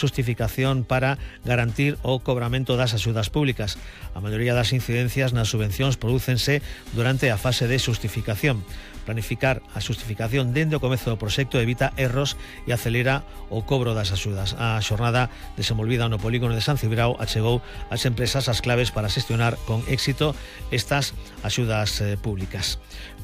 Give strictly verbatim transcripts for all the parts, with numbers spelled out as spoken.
xustificación para garantir o cobramento das axudas públicas. A maioría das incidencias nas subvencións prodúcense durante a fase de xustificación. Planificar a xustificación dende o comezo do proxecto evita erros e acelera o cobro das axudas. A xornada desenvolvida no polígono de San Cibrao achegou ás empresas as claves para xestionar con éxito estas axudas eh, públicas.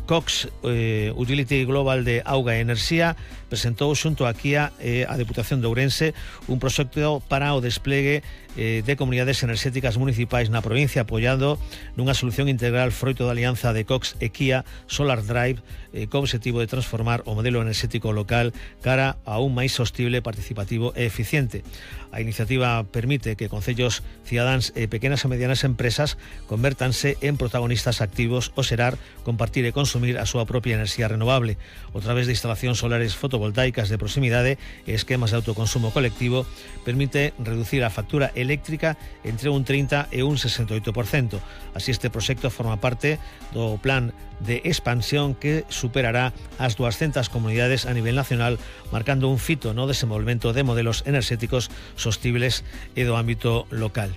Cox eh, Utility Global de Auga e Enerxía presentou xunto a Kia e eh, a Deputación de Ourense un proxecto para o desplegue eh, de comunidades enerxéticas municipais na provincia, apoiado nunha solución integral froito da alianza de Cox e Kia Solar Drive, eh, co objetivo de transformar o modelo enerxético local cara a un máis sostible, participativo e eficiente. A iniciativa permite que concellos, cidadáns e pequenas e medianas empresas convértanse en protagonistas activos ao xerar, compartir e consumir a súa propia enerxía renovable. A través de instalacións solares fotovoltaicas de proximidade e esquemas de autoconsumo colectivo, permite reducir a factura eléctrica entre un trinta e un sesenta e oito por cento. Así, este proxecto forma parte do plan de expansión que superará as doscientas comunidades a nivel nacional, marcando un fito no desenvolvemento de modelos enerxéticos sostibles e do ámbito local.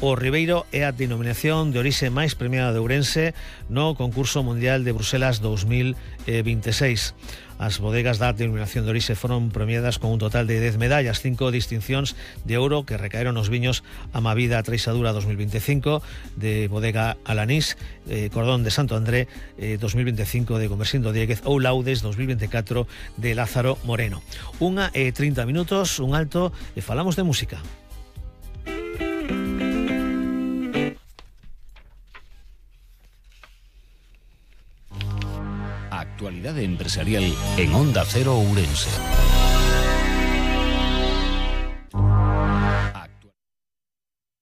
O Ribeiro é a denominación de orixe máis premiada de Ourense no concurso mundial de Bruselas dos mil veintiséis. As bodegas da denominación de orixe foron premiadas con un total de dez medallas, cinco distincións de ouro que recaeron nos viños Amavida Treixadura dos mil veinticinco de Bodega Alanís, eh, Cordón de Santo André eh, dos mil veinticinco de Comersindo Dieguez ou Laudes dos mil veinticuatro de Lázaro Moreno. Unha e trinta minutos, un alto e falamos de música. Actualidade empresarial en Onda Cero Ourense.